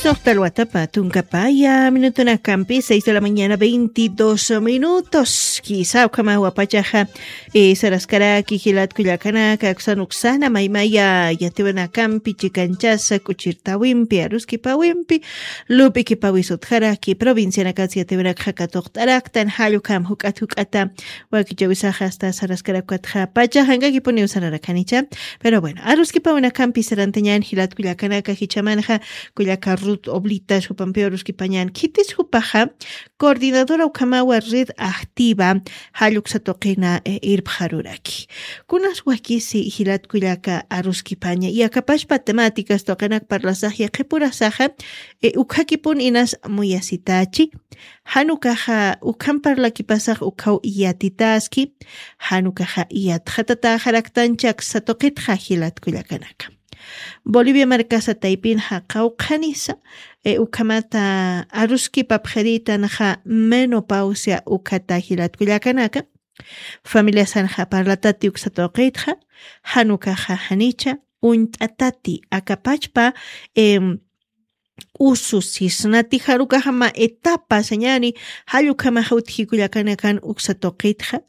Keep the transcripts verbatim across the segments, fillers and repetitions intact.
Toqtal watapa tunkapaya minutunakampi seis de la mañana veintidós minutos. Kisa ukhama wapachaxa, eh, saraskaraki jilat kullakanaka aksan uksana maymaya yatiwanakampi chikanchasa kuchirtawimpi aruskipawimpi lup'ikipawisutjaraki provincianakas yatiwanakxa katuqt'araktan jallukam juk'at juk'ata wakichawisaxa asta saraskarakatxa pacha jankakipuniw sararakanicha. Pero bueno, aruskipawanakampi sarantañan jilat kullakanaka jichamanxa kullaka rut oblitas jupampiw aruskipañan khitis jupaxa coordinadora ukhamawa red activa jalluksa tuqina irpxaruraki. Kunas wakisi jilat kullaka aruskipaña yakapashpa temáticas tuqinak parlasaxya qhipurasaxa ukhakipun inas muyasitachi. Janukaxa ukham parlakipasax ukhaw iyatitaski. Janukaxa iyatxatataxaraktanchak satuqitxa jilat kullakanaka. Bolivia markasa taypin jaqawqhanisa ukhamata aruskipapxiritanxa menopausia ukhata jilat kullakanaka. Familiasanxa parlatati uksatuqitxa. Janukaxa janicha uñt'atati akapachpa usu sisnati jarukaxama etapa sañani. Jallukamaxa utjikullakanakan uksatuqitxa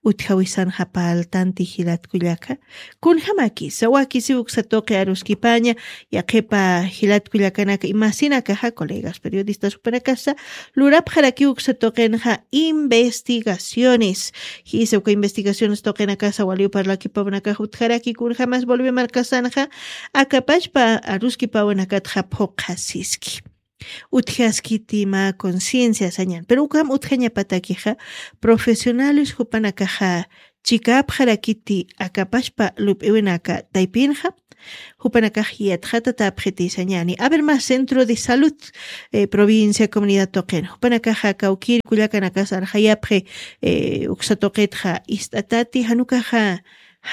utjawisanxa paltanti jilatkullaka. Kunjamakisa wakisi uksatuqi aruskipaña yaqipa jilatkullakanaka imasinakaxa colegas periodistas jupanakasa lurapxaraki uksatuqinxa investigaciones. Jisa uka investigaciones tuqinakasa waliw parlakipawnakax utjaraki kunjamas bolivia markasanxa akapachpa aruskipawanakatxa phuqhasiski. Utjaskiti mä conciencia sañan pero ukam utjañapatakixa profesionales jupanakaxa chikapxarakiti akapashpa lup'iwinaka taypinxa. Jupanakax yatxatatapxiti sañani aver mä centro de salud provincia comunidad tuqin jupanakaxa kawkir kullakanakasarxayapxi. Uksatuqitxa ist'atati janukaxa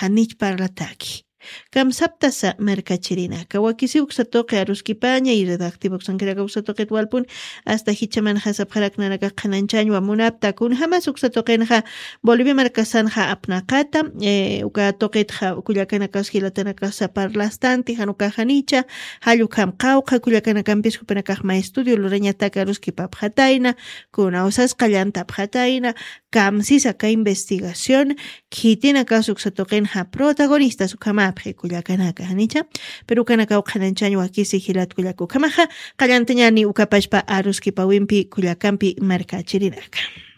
janich parlataki. Kamsaptasa markachirinaka wakisi uksatuqi aruskipaña y redactiva uksankiraka uksatuqit walpun asta jichamanxasapxaraknanaka qhananchañwa munapta kunjamas uksatuqinxa bolivia markasanxa apnaqata. Uka tuqitxa kullakanakas jilatanakasa parlastanti janukaxanicha. Jallukam qawqa kullakanakampis jupanakaxma estudio lurañataka aruskipapxatayna kunawsas qallantapxatayna. Kamsisa ka investigación khitinakas uksatuqinxa protagonistas ukhamapxi kullakanaka janicha. Pero ukanakaw qhananchañ wakisi jilatkullaka ukhamaxa qallantañani ukapashpa aruskipawimpi kullakampi markachirinaka.